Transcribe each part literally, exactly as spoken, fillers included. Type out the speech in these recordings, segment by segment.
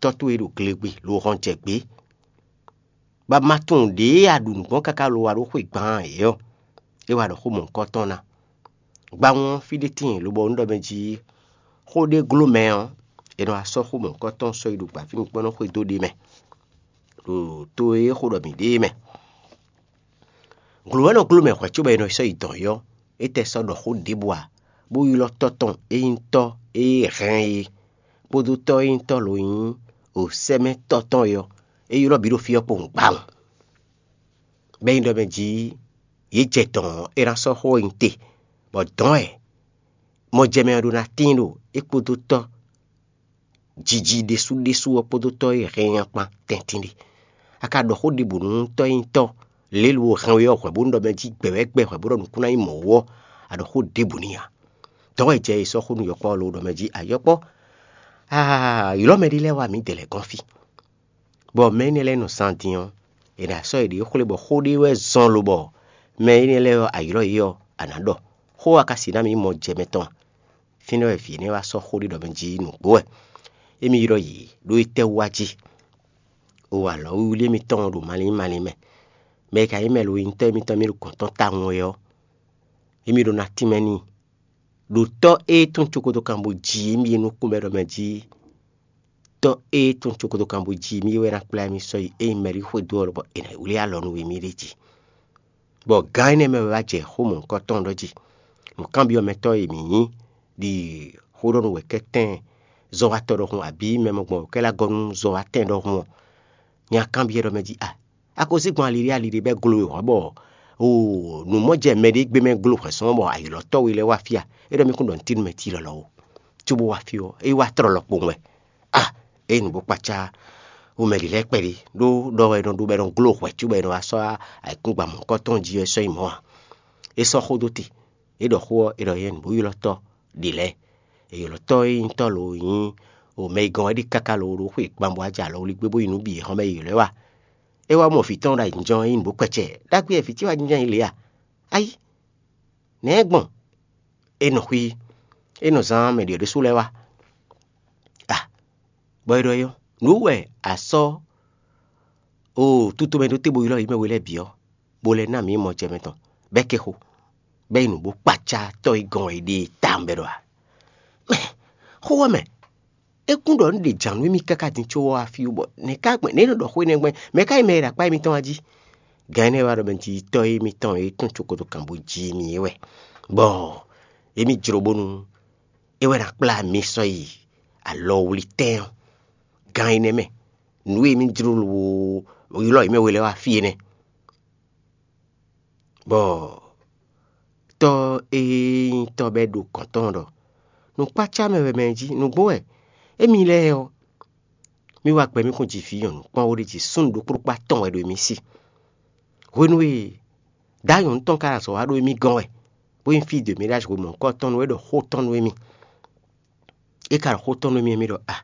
tɔ́ towe ɖo glegbe lo hɔn jɛ gbě. Bɔ a ma tunwun ɖěe a ɖu nǔ gbɔn káká lo wá ɖó xwe gban ǎ é ɔ́, é wá ɖɔ xó mɔ̌hunkɔtɔn ná. Gbawun ɔ́, fí ɖé tíin lobɔ un ɖɔ mɛ jí xó ɖé gló mɛ ɔ́, è nɔ wá sɔ́ xó mɔ̌hunkɔtɔn sɔ́ yi ɖo gbǎfínukpɔ́n nɔ xwedó ɖé mɛ, ɖo to e é xo ɖɔ mǐ ɖe é mɛ. Glǒ wɛ nɔ gló mɛ hwɛ̌ cóbɔ è nɔ sɔ́ yi dɔ̌n é ɔ́, é tɛ sɔ́ ɖɔ xó ɖěbǔ ǎ, bó ylɔ́ tɔ́ tɔn e nyí tɔ́ e hɛn é, kpódó tɔ́ e nyí tɔ́ lo nyí o sɛ́mɛ tɔ́ tɔn é ɔ́, é ylɔ́ bǐ ɖo fí ɔ́ kpowun gbawun. Bɔ é nyí ɖɔ mɛ jí yě jɛ dɔ̌n ɔ́, é ná sɔ́ xó ɔ́ nyi te, bɔ dɔ̌n wɛ mɔjɛmɛ ɔ́ ɖó ná tíin ɖo é kpódó tɔ́ jiji ɖésú ɖésú ɔ́ kpódó tɔ́ e hɛn nya kpan tɛntin ɖe. A ka ɖɔ xó ɖěbǔ nú tɔ́ e nyí tɔ́ lě e lo hɛn we ɔ́ hwɛ bó nú ɖɔ mɛ jí gbɛ wɛ gbɛ hwɛ bó ɖɔ nǔkún ná nyí mɔ̌ wú ɔ́, a ɖɔ xó ɖěbǔ n'i ǎ. Dɔ̌n wɛ jɛ e sɔ́ xó nú yɔkpɔ́ ɔ́ lo ɖɔ mɛ jí: Ayɔkpɔ́, aa, ylɔ́ mɛɖé lɛ́ɛ wá mǐdɛɛ lɛ́ɛ gɔ́n fí. Bɔ mɛ énɛ́ lɛ́ɛ nɔ zan din ɔ́, è nǎ sɔ́ yěɖée xwlé bɔ xó ɖé wɛ zɔn lobɔ mɛ énɛ́ lɛ́ɛ ɔ́, a ylɔ́ yě ɔ́, a nǎ ɖɔ. Xó ɔ́ ka si ná mì nyí mɔjɛmɛ tɔn a? Fínɛ́ wɛ vǐ énɛ́ wá sɔ́ xó ɖé ɖɔ mɛ jí nǔgbó wɛ. Émí ylɔ́ yě ɖó étɛ́ wú wá jí? O alɔ̌wiwlí émítɔn ɖo malín malín mɛ. Mɛ e ka nyí mɛ lo nyitɔ́ émítɔn mì ɖo gɔ̌n tɔn tawun wɛ ɔ́, émí ɖó ná tínmɛ n'i. Ɖo tɔ́ e tún cokotokan bó ji émí e nukún mɛ ɖɔ mɛ jí, tɔ́ e tún cokotokan bó ji émí wɛ ná kplá émí sɔ́ yi ényí mɛ ɖé xwedó ɔ́ lobɔ è nǎ wlí alɔ nú émí ɖ'é jí. Bɔ gǎn énɛ́ mɛ wɛ wá jɛ xó mɔ̌hunkɔtɔn ɖɔ jí. Nǔkanbyɔ́mɛtɔ́ e mǐ nyí ɖi xó ɖɔ nú wɛ̌kɛ́tɛn zɔ́watɔ́ ɖɔhun abǐ mɛ mɔgbɔn wɛ̌kɛ́ lɛ́ gɔ́ nú zɔ́watɛn ɖɔhun ɔ́, nya kanbyɔ́ ɖɔ mɛ jí a, a ko zé gbɔn ali ɖé ali ɖé bɛ́ glo e hɔ̌ bɔ o nǔ mɔ jɛ mɛ ɖé gbé mɛ glo hwɛ̌ sɔ́ bɔ ayǐlɔ́tɔ́ we lɛ́ɛ wá fí a? É ɖɔ mì kún ɖɔ un tín nú mɛ tílɔ́lɔ́ ó. Cóbó wá fí ɔ́, é wá tlɔ́ lɔkpowun wɛ. A, é nǔ bó kpacá, o mɛ ɖě lɛ́ɛ kpɛɖé ɖó ɖɔ wɛ è nɔ ɖó bɔ è nɔ gló hwɛ̌ cóbɔ è nɔ wá sɔ́ ayǐkúngban mɔ̌hunkɔtɔn jí ɔ́, é sɔ́ nyi mɔ̌ a? É sɔ́ xó dó te. É ɖɔ xó ɔ́, é ɖɔ yɛ nǔ bó ylɔ́ tɔ́ ɖě lɛ́ɛ. È ylɔ́ tɔ́ e nyí tɔ́ lo nyí o mɛ e gɔ́n wɛ ɖi káká lo ɖó xwe gban bɔ wá jɛ alɔ wlí gbé bó yi nǔ bǐ e hɔn mɛ è ylɔ́ ɛ wá. É wá mɔ vǐ tɔn ɖo ayǐjínjɔ́n ɔ́, é nyí nǔ bó kpɛcɛ. Ɖagbe wɛ vǐ ce wá jínjɔ́n yi lě a? Ayí, nɛ̌ é gbɔn? É nɔ xwí, é nɔ zán mɛ ɖě ɖésú lɛ́ɛ wá. A, bɔ é ɖɔ é ɔ́, nǔ wɛ a sɔ́ o tutomɛ ɖó te bó ylɔ́ yě mɛ we lɛ́ɛ bǐ ɔ́, bó lɛ́ ná mǐ mɔ jɛ mɛ tɔn, bɔ é kɛ xo, bɔ é yi nǔ bó kpacá tɔ́ e gɔn wɛ è ɖe e tawun bɔ é ɖɔ a? Mɛ, xó ɔ́ mɛ, é kún ɖɔ un ɖe jǎn nú émí káká din có wá fí wú bɔ nɛ̌ ká gbɛn nɛ̌ é nɔ ɖɔ xó énɛ́ gbɛn? Mɛ̌ ká nyí mɛ e ɖo akpá émítɔn wá jí? Gǎn énɛ́ wá ɖɔ mɛ jí tɔ́ émítɔn e tún cokotokan bó jí mì é wɛ, bɔ émí jló bónú é wɛ ná kplá mi sɔ́ yi alɔwlítɛn ɔ́. Gǎn énɛ́ mɛ, nǔ e émí jló lo ylɔ́ yě mɛ we lɛ́ɛ wá fí é nɛ́. Bɔ tɔ́ e nyí tɔ́ bɔ é ɖo gɔ̌n tɔn ɖɔ: Nǔkpácá mɛ wɛ mɛ jí, nǔgbó wɛ émí lɛ́ɛ ɔ́, mì wá gbɛ mì kún ji vǐ nyɔ̌nu kpɔ́n ó ɖé jí súnnu ɖokpó ɖokpó atɔn wɛ ɖo émí sí. Hwenu e dǎ nyɔ̌nu tɔn ka ɖo azɔ̌ wa ɖó émí gɔ́n wɛ, bó nyí fí de mǐ ɖo azɔ̌ mɔ̌hunkɔtɔn nú é ɖɔ xó tɔn nú émí. É ka ɖɔ xó tɔn nú mì, mì ɖɔ a,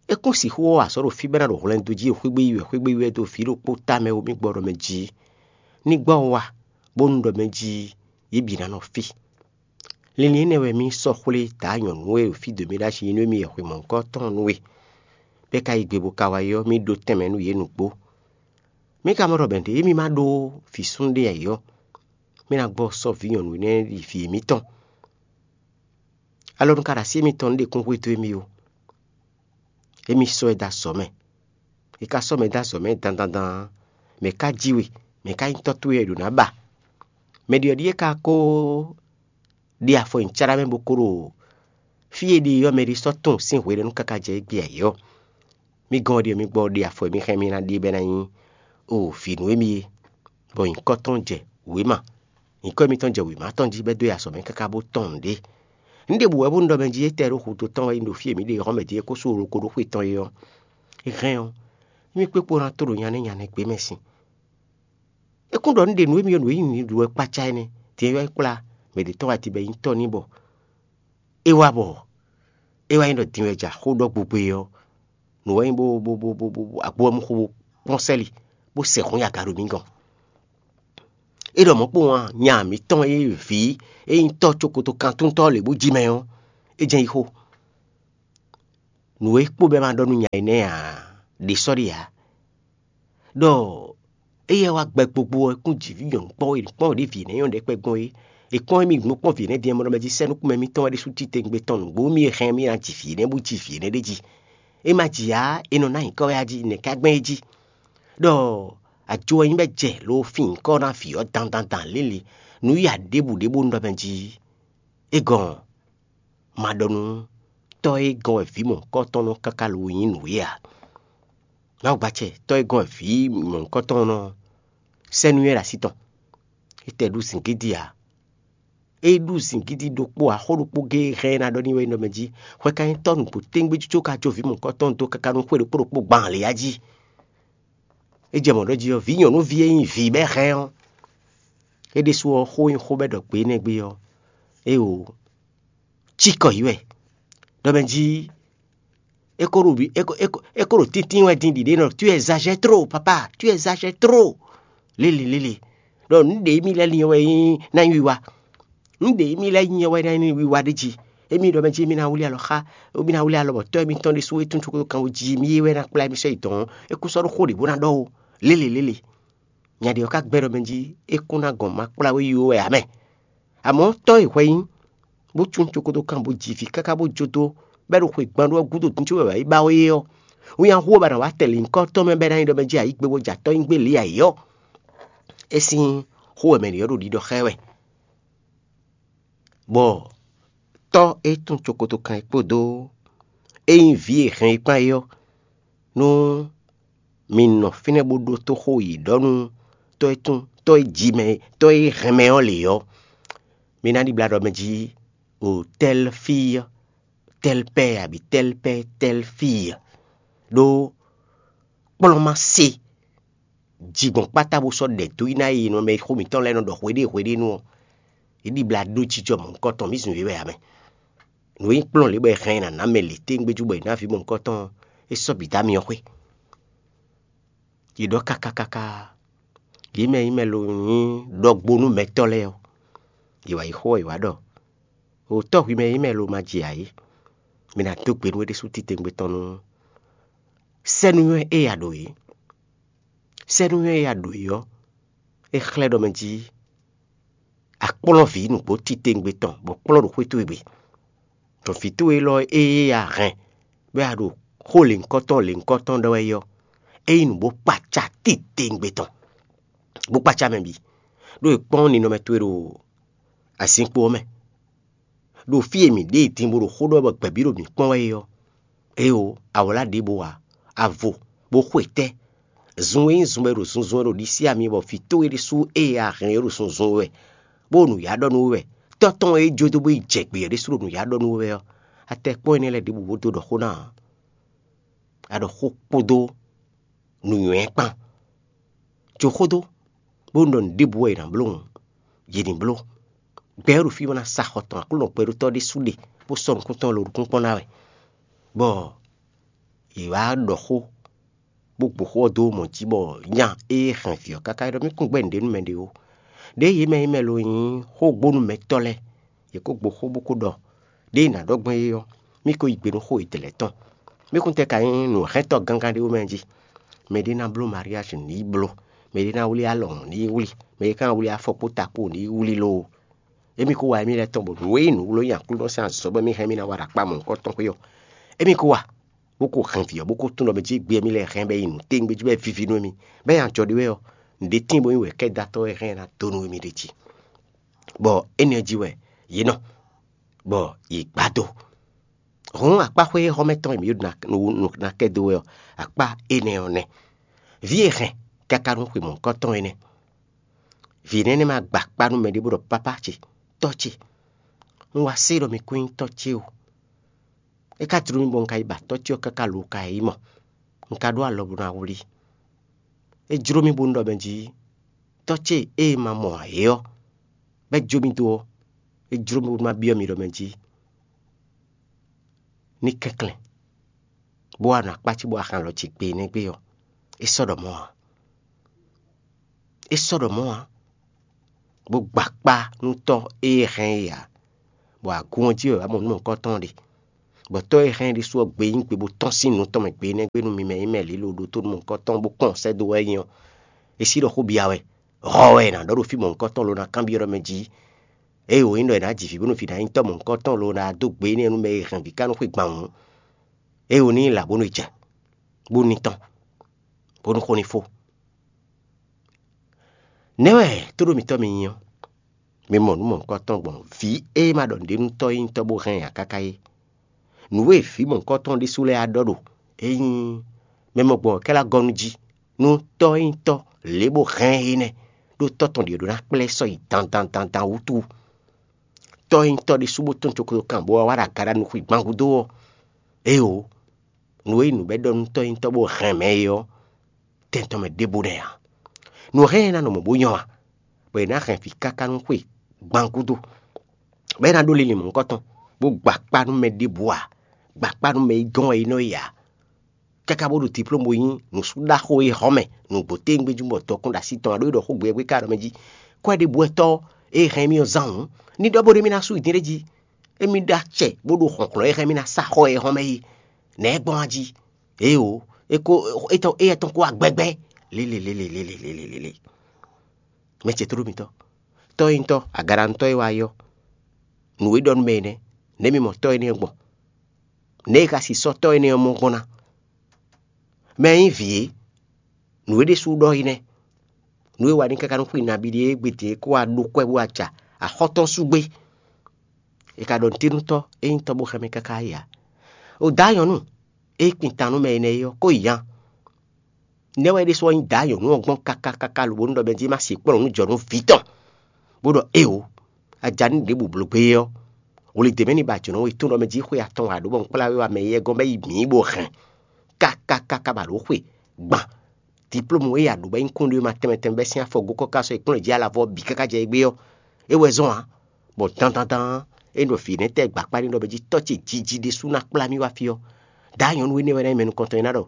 é kún sixú ɔ́ azɔ̌ ɖo fí bɔ é ná ɖo hwlɛndo jí xwé gbé yi wɛ, xwé gbé yi wɛ dó vǐ ɖokpó ta mɛ ó mì gbɔ ɖɔ mɛ jí ní gbɔ wá, bónú ɖɔ mɛ jí yě bǐ ná nɔ fí. Linlin énɛ́ wɛ mì sɔ́ xwlé dǎ nyɔ̌nu e ɖo fí dǒ mì ɖó asi nú émí wɛ xwe mɔ̌hunkɔ tɔn nú we, bɔ é ka yí gbe bó ka wá yi ɔ́, mì ɖó tɛnmɛ nú yě nǔgbó. Mì ka mɔ ɖɔ mɛ̌ ɖě émí ma ɖó vǐ súnnu ɖé ǎ é ɔ́, mì ná gbɔ sɔ́ vǐ nyɔ̌nu énɛ́ yi vǐ émítɔn. Alɔnu ka ɖo así émítɔn nú ɖě kún hwedó émí ó. Émí sɔ́ ɛ dó azɔ̌ mɛ. È ka sɔ́ mɛ dó azɔ̌ mɛ dandan dan ǎ, mɛ̌ ka jí we? Mɛ̌ ka nyí tɔ́ towe wɛ è ɖǒ ná ba? Mɛ ɖyɔ̌ɖyɔ́ e ka ko ɖe afɔ nyi cárá mɛ bó ko ɖo fí e ɖe ɔ́ mɛ ɖé sɔ́ tunwun sín hwenɛ́nu káká jɛ égbé ǎ é ɔ́, mì gɔ́n ɔ́ ɖíe mì gbɔ ɖe afɔ e mì hɛn mì ná ɖe bɔ é ná nyí o vǐ nú émí é, bɔ nyǐkɔ tɔn jɛ wěma. Nyǐkɔ mitɔn jɛ wěma tɔn jí bɔ é dó yi azɔ̌ mɛ káká bó tɔn nǔɖé. Nǔɖé bǔ wɛ bónú ɖɔ mɛ jí étɛ́ ɖó hudó tɔn wɛ nyí ɖo fí e mǐ ɖe hɔn mɛ din é kó sú holokoɖóxwe tɔn é ɔ́, é hɛn ɔ́, émí kpé kpó ná tó ɖo nya nɛ́ nya nɛ́ gbé mɛ sin. É kún ɖɔ nǔɖé nú émí ɔ́ nǔ e nyí nǔɖuɖu wɛ kpácá énɛ́, din e wɛ é kplá mɛ ɖě tɔn wá din bɔ é nyí tɔ́ n'i bɔ é wá bɔ é wá nyí ɖɔ din wɛ ja xó ɖɔ gbogbo é ɔ́, nǔ wɛ nyí bó bó bó bó bó agbo ɔ́ mú xó bó kpɔ́n sɛ́li, bó sɛ hɔn yi aga ɖo mǐ gɔ́n. É ɖɔ mɔ̌ kpowun a, nya mǐtɔn e vǐ e nyí tɔ́ cokoto kantúntɔ́ lě bó jí mɛ ɔ́, é jɛ́n yi xó. Nǔ e kpo bɛ́ ma ɖɔ nú nya énɛ́ ǎ, ɖě sɔ́ ɖe ǎ. Ɖɔ éyɛ́ wá gbɛ gbogbo ɔ́, é kún jǐ vǐ nyɔ̌nu kpɔ́ e kpɔ́n ɖě vǐ énɛ́ nyɔ́ ɖɛkpɛ gbɔn é. È kpɔ́n émí gbɔn kpɔ́n vǐ énɛ́ din ɔ́, mɔ ɖɔ mɛ jí sɛ́ nukúnmɛ mitɔn wɛ ɖésú titewungbe tɔn nǔgbó mì e hɛn mì ná ji vǐ énɛ́ bó ji vǐ énɛ́ ɖ'é jí. É ma ji ǎ, è nɔ ná nyǐkɔ wɛ a jí, nɛ̌ ká gbɛn é jí? Ɖɔ ajo ɔ́ nyí bɔ é jɛ lo fin nyǐkɔ ná vǐ ɔ́ dandandan lěle, nǔ ya ɖěbǔ ɖé bó un ɖɔ mɛ jí. É gɔn ma ɖɔ nú tɔ́ e gɔ́n wɛ vǐ mɔ̌hunkɔtɔn nɔ káká lo nyí nǔ é ǎ. Mawu gbacɛ tɔ́ e gɔ́n wɛ vǐ mɔ̌hunkɔtɔn nɔ sɛ́ nú nywɛ́ ɖo así tɔn. É tɛ ɖu zǐngídi ǎ. É ɖu zǐngídi ɖokpó ǎ, xó ɖokpó géé hɛn ná ɖɔ n'i wɛ é nɔ mɛ jí. Hwɛ ka nyí tɔ́ nǔgbó téŋgbé có ka jó vǐ mɔ̌hunkɔtɔn dó káká nú xwé ɖokpó ɖokpó gban lě á jí. É jɛ mɔ̌ ɖɔ jí ɔ́, vǐ nyɔ̌nuví e nyí vǐ bɛ́ hɛn ɔ́, é ɖésú ɔ́, xó e nyí xó bɛ́ ɖɔ gbě énɛ́ gbé ɔ́, é o cikɔ yí wɛ. Ɖɔ mɛ jí é ko ɖo vǐ- é ko- é ko- é ko ɖo tíntín wɛ din ɖiɖe nɔ, tu exagères trop, papa, tu exagères trop. Lélelélé. Ɖɔ nǔ ɖě émí lɛ́ɛ lin ɔ́ wɛ nyí ná nyí wiwa. Nǔ ɖě émí lɛ́ɛ nyi ɔ́ wɛ ná nyí wiwa ɖé jí. Émí ɖɔ mɛ jí émí ná wlí alɔ xá, émí ná wlí alɔ bɔ tɔ́ émítɔn ɖésú e tún cókó kan wú jí mì é wɛ ná kplá émí sɔ́ yi dɔ̌n. É kún sɔ́ ɖó xó ɖě bó ná ɖɔ ó. Lélelélé. Nya ɖě ɔ́ ka gbɛ́ ɖɔ mɛ jí é kún ná gɔn ma kplá wé yi ó wɛ ǎ mɛ. Amɔ̌ tɔ́ e hwɛ nyí, bó cún cókó dó kan bó ji vǐ káká bó jó dó, bɔ é ɖo xwe gban ɖó ɔ́ gúdo dín có wɛ wǎ yi ba ó é ɔ́, winnyá hu ɔ́ ba ná wá tɛn lǐnkɔ́ tɔn mɛ bɔ é ná nyí ɖɔ mɛ jí ayǐ gbe bó jɛ atɔ́ nyi gbé lě ayǐ ɔ́. É sín xó wɛ mɛ ɖě ɔ́ ɖo ɖiɖɔ xá ɛ wɛ. Bɔ tɔ́ e tún cokotokán é kpódó é nyí vǐ e hɛn é kpán é ɔ́, nú mi nɔ fínɛ́ bó ɖótó xó yi ɖɔ nú tɔ́ e tún tɔ́ e ji mɛ tɔ́ e hɛn mɛ ɔ́ lě ɔ́, mi ná ɖibla ɖɔ mɛ jí o tɛ́lfíyɔ́ tɛ́lpɛ́ abǐ tɛ́lpɛ́ tɛ́lfíyɔ́, ɖó kplɔ́n ma se ji gbɔn kpátá bó sɔ́ ɖɛ dó yi ná e nɔ mɛ xó mǐtɔn lɛ́ɛ nɔ ɖɔ hweɖée hweɖée nú ɔ́, é ɖibla ɖó jijɔ mɔ̌hunkɔtɔn, mǐ zun yě wɛ ǎ mɛ. Nǔ e nyí kplɔ́n lě bɔ è hɛn ɛ ná ná mɛ lě téŋgbéjú bɔ è nǎ vǐ mɔ̌hunkɔtɔn ɔ́, é sɔ́ bǐ dó amyɔ xwé. Yě ɖɔ káká káká, yě mɛ e nyí mɛ lo nyí ɖɔgbónúmɛtɔ́ lɛ́ɛ ɔ́, yě wǎ yi xó ɔ́, yě wǎ ɖɔ: O tɔ́ hwi mɛ e nyí mɛ lo ma ji ǎ é, mi ná dó gbe nú é ɖésú titewungbe tɔn nú sɛ́núnywɛ́ e a ɖǒ é. Sɛ́núnywɛ́ e a ɖǒ é ɔ́, é xlɛ́ ɖɔ mɛ jí a kplɔ́n vǐ nǔgbó titewungbe tɔn bɔ kplɔ́n ɖo xwé towe gbe. Ɖɔ vǐ towe élɔ́ e a hɛn bɔ a ɖo xó lěhunkɔtɔn lěhunkɔtɔn ɖɔ wɛ é ɔ́, é nyí nǔ bó kpaca titewungbe tɔn, bó kpaca mɛ bǐ, ɖó è kpɔ́n ninɔmɛ towe ɖo azinkpo ɔ́ mɛ, ɖo fí e mǐ ɖe din bó ɖo xó ɖɔ bɔ gbɛ̌bí ɖo mǐ kpɔ́n wɛ é ɔ́. Éeǒ, a wlǎ ɖěbǔ ǎ, a vo, bó xwe tɛ́. Zun e nyí zun bɔ è ɖo zunzun wɛ ɖo ɖisí ami bɔ vǐ towe ɖésú e a hɛn é ɖo zunzun wɛ, bó ɖo nǔyá ɖɔ nú we wɛ, tɔ́ tɔn e é jó dó bó yi jɛ gbě ɔ́ ɖésú ɖo nǔyá ɖɔ nú we wɛ ɔ́, a tɛ kpɔ́n énɛ́ lɛ́ɛ ɖěbǔ bó dó ɖɔ xó ná ǎ. A ɖɔ xó kpódó nǔnywɛ́ kpán. Jó xó dó, bónú ɖɔ nǔɖěbǔ wɛ è nǎ bló hǔn, yě ní bló. Gbɛ ɔ́ ɖo fí bó ná sa xɔ tɔn Aklúnɔ gbɛɖótɔ́ ɖésú ɖe, bó sɔ́ nukún tɔn lo nukún kpɔ́n ná wɛ, bɔ yě wá ɖɔ xó, bó gbo xó ɔ́ dó mɔ̌ jí bɔ nya e hɛn vǐ ɔ́ káká é ɖɔ mì kún gbɛ́ nǔɖé nú mɛɖé ó. Ɖěe yě mɛ nyí mɛ lo nyí xógbónúmɛtɔ́ lɛ́ɛ, yě kó gbo xó bó kó ɖɔ ɖěe è nǎ ɖɔ gbɔn é ɔ́, mì ko yí gbe nú xó yětɛn lɛ́ɛ tɔn. Mì kún tɛ ka nyí nǔhɛntɔ́ gángan ɖé wú mɛ jí? Mɛɖé ná bló mariázi ní yi bló, mɛɖé ná wlí alɔ̌hun ní yi wlí, mɛɖé ka ná wlí afɔ kpó ta kpó ní yi wlí loo. Émí kó wa émí lɛ́ɛ tɔn bɔ nǔ e nyí nǔwló nyi Aklúnɔ sín azɔ̌ bɔ émí hɛn émí ná wa ɖo akpá mɔ̌hunkɔtɔn xwé ɔ́, émí kó wa, bó kó hɛn vǐ ɔ́, bó kó tún ɖɔ mɛ jí gbé émí lɛ́ɛ hɛn bɔ é nyí nǔ téwúngbéjú bɔ é víví nú émí, bɔ é nyí ajɔ ɖé wɛ ɔ́, nǔɖé tíin bónú wɛ kɛ́ dó atɔ́ wɛ hɛn ná dó nú émí ɖ'é jí. Bɔ énɛ́ ɔ́ jí wɛ yě nɔ, bɔ yě gbá dó. Hǔn akpá xwé xɔ́mɛ tɔn e mǐ ɖo ná kɛ dó wɛ ɔ́, akpá énɛ́ ɔ́ nɛ́. Vǐ e hɛn káká nú xwe mɔ̌hunkɔtɔn énɛ́. Vǐ énɛ́ nɛ́ ma gba akpá nú mɛɖé bó ɖɔ: Pápá ce, tɔ́ ce, un wá se ɖɔ mi kún nyí tɔ́ ce o. É ka jló mì bɔ un ka yi ba tɔ́ ce ɔ́ káká lo ka yi mɔ. Un ka ɖó alɔ bó ná wlí. É jló mì bónú ɖɔ mɛ jí tɔ́ ce e ma mɔ ǎ é ɔ́, bɔ é jó mì dó ɔ́, é jló mì bónú ma byɔ́ mi ɖɔ mɛ jí ní kɛnklɛ́n, bó wá nɔ akpá ce bó wá hɛn alɔ ce gbe énɛ́ gbe ɔ́, é sɔ́ ɖɔ mɔ̌ ǎ. É sɔ́ ɖɔ mɔ̌ ǎ, bó gba akpá nú tɔ́ e hɛn é ǎ, bɔ agun ɔ́ jí wɛ wǎ mɔ nǔ mɔ̌hunkɔtɔn ɖe. Bɔ tɔ́ e hɛn ɖésú ɔ́ gbe nyí gbe bó tɔ́n sín nǔ tɔn mɛ gbe énɛ́ gbe nú mi mɛ nyí mɛ lǐlo ɖótó nú mɔ̌hunkɔtɔn bó kpɔ́n sɛ́ dó wɛ é nyí ɔ́, é sí ɖɔ xó bia wɛ. Hɔ wɛ è nǎ ɖɔ ɖo fí mɔ̌hunkɔtɔn lo ná kanbyɔ́ ɖɔ mɛ jí. Ée wǒ nyí ɖɔ è nǎ ji vǐ bónú vǐ ná nyí tɔ́ mɔ̌hunkɔtɔn lo ná dó gbe énɛ́ nú mɛ e hɛn vǐ ká nú xwé gban hǔn, ée wǒ ní nyí là bónú è jɛ, bó ní tɔ́n, bónú xó ní fó. Nɛ̌ wɛ tóɖó mitɔ́ mi nyí ɔ́? Mi mɔ nǔ mɔ̌hunkɔtɔn gbɔn vǐ e ma ɖɔ nǔɖé nú tɔ́ e nyí tɔ́ bó hɛn nya káká é. Nǔ e vǐ mɔ̌hunkɔtɔn ɖésú lɛ́ɛ wá ɖɔ ɖo é nyí mɛ mɔ gbɔn kɛ́lá gɔ́ nú jí nú tɔ́ e nyí tɔ́ lě bó hɛn é nɛ́, ɖó tɔ́ tɔn ɖě ɖó ná kplá ɛ sɔ́ yi dandan dandan wútu. Tɔ́ e nyí tɔ́ ɖésú bó tɔ́n coklo kan bó wá wá ɖo agaɖa nukún gbán gúdo ɔ́, éeǒ, nǔ e nyí nǔ bɔ é ɖɔ nú tɔ́ e nyí tɔ́ bó hɛn mɛ é ɔ́, tɛn tɔn mɛ ɖěbǔ nɛ́ ǎ. Nǔ hɛn ɛ ná nɔ mɔ̌ bó nyɔ́ ǎ, bɔ è nǎ hɛn vǐ káká nú xwe gban gúdo, bɔ é ná ɖó linlin mɔ̌hunkɔtɔn, bó gba akpá nú mɛ ɖěbǔ ǎ, gba akpá nú mɛ e gɔ́n wɛ é nɔ yi ǎ. Káká bó ɖo diplómu bó nyí nǔsúɖaxó e hɔn mɛ nǔgbó téwúngbéjú bɔ dɔkun ɖo así tɔn ǎ ɖó é ɖɔ xó gbe wɛ gbé ká ɖɔ mɛ jí. Kwɛ́ɖibú wɛ tɔ́ e hɛn mì ɔ́ zán hǔn, ní ɖɔ bó ɖé mì ná sú yi din ɖé jí. Émí ɖó acɛ bó ɖo hlɔ̌nhlɔ́n e hɛn mì ná sa xɔ e hɔn mɛ é. Nɛ̌ gbɔn a jí? Éeǒ, é ko étɔn éyɛ́ tɔn kó wá gbɛgbɛ. Lélelélelélelélelélé. Mɛ ce tló mitɔ́, tɔ́ e nyí tɔ́, agaɖanutɔ́ e wá yɔ́, nǔ e ɖɔ nú mɛ énɛ́, nɛ̌ mi mɔ tɔ́ énɛ́ gbɔn? Nɛ̌ e ka si sɔ́ tɔ́ énɛ́ ɔ́ mɔ gbɔn ná? Mɛ e nyí vǐ é, nǔ e ɖésú ɖɔ é nɛ́. Nǔ e wa ní káká nú xwi nabí ɖíe gbete kó wá ɖó kwɛ́ bó wá ja axɔ́ tɔn sú gbé. È ka ɖɔ nǔtínútɔ́ e nyí tɔ́ bó xɛmɛ káká yi ǎ. O dǎ nyɔ̌nu e kpin tan nú mɛ énɛ́ é ɔ́, kó yi nya. Nɛ̌ wɛ é ɖésú ɔ́ nyí dǎ nyɔ̌nu ɔ́ gbɔn káká káká lobo nú ɖɔ mɛ jí é má se kplɔ́n nǔ jɔ nú vǐ tɔn, bó ɖɔ éeǒ, a ja nú ɖěbǔ bló gbé é ɔ́, wlidě mɛ ní ba jǒnɔ we tɔn ɖɔ mɛ jí xwe atɔn wǎ ɖó bɔ un kplá we wá mɛ éyɛ́ gɔ́n bɔ é yi mǐ bó hɛn káká káká bɔ a ɖǒ xwe gban. Diplómu e a ɖǒ bɔ é nyí kúnɖéwéma tɛnmɛ tɛnmɛ bɛ́ sín afɔ gó kɔ́ ká sɔ́ yi kplɔ́n jǐ alavɔ bǐ káká jɛ égbé ɔ́, é wɛ zɔ́n ǎ. Bɔ dandandan é ɖo vǐ nɛ́ tɛ́ gbakpá ní ɖɔ mɛ jí tɔ́ ce jiji ɖésú ná kplá mì wá fí ɔ́, dǎ nyɔ̌nu énɛ́ wɛ ná nyí mɛ nukɔntɔn e ná ɖɔ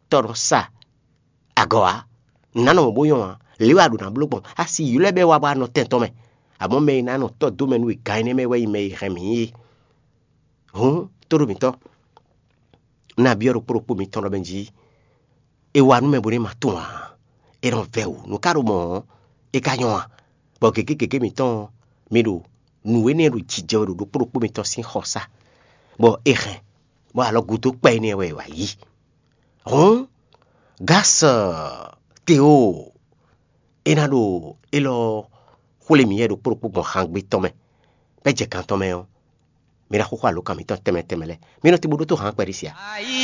tɔ́ nɔ sa agɔ̌ ǎ. Nǎ nɔ mɔ̌ bó nyɔ́ ǎ. Lě wɛ a ɖǒ ná bló gbɔn. A si ylɔ́ ɛ bɔ é wá bɔ a nɔ tɛn tɔn mɛ. Amɔ̌ mɛ e ná nɔ tɔ́ dó mɛ nú we gán énɛ́ mɛ wɛ nyí mɛ e hɛn mǐ é. Hǔn, tóɖó mǐtɔn, un ná byɔ́ ɖokpó ɖokpó mitɔn ɖɔ mɛ jí é wá nú mɛ bónú é ma tunwun ǎ. É nɔ vɛ́ wǔ. Nǔ ka ɖo mɔ̌ ɔ́, é ka nyɔ́ ǎ. Bɔ gěgé gěgé mǐtɔn ɔ́, mi ɖo nǔ énɛ́ ɖo jijɛ wɛ ɖo ɖokpó ɖokpó mitɔn sín xɔsá, bɔ è hɛn, bɔ alɔ gúdo kpɛ énɛ́ wɛ è wǎ yí. Hǔn, Gásɔ Tewo, é ná ɖo élɔ́ xwlé mǐ yɛ ɖokpó ɖokpó gbɔn xangbe tɔn mɛ, bɔ é jɛ kan tɔn mɛ ɔ́, mi ná xúxú alǒkan mǐtɔn tɛnmɛ tɛnmɛ lɛ́ɛ. Mi nɔ te bó ɖótó hǎn kpɛɖé sia.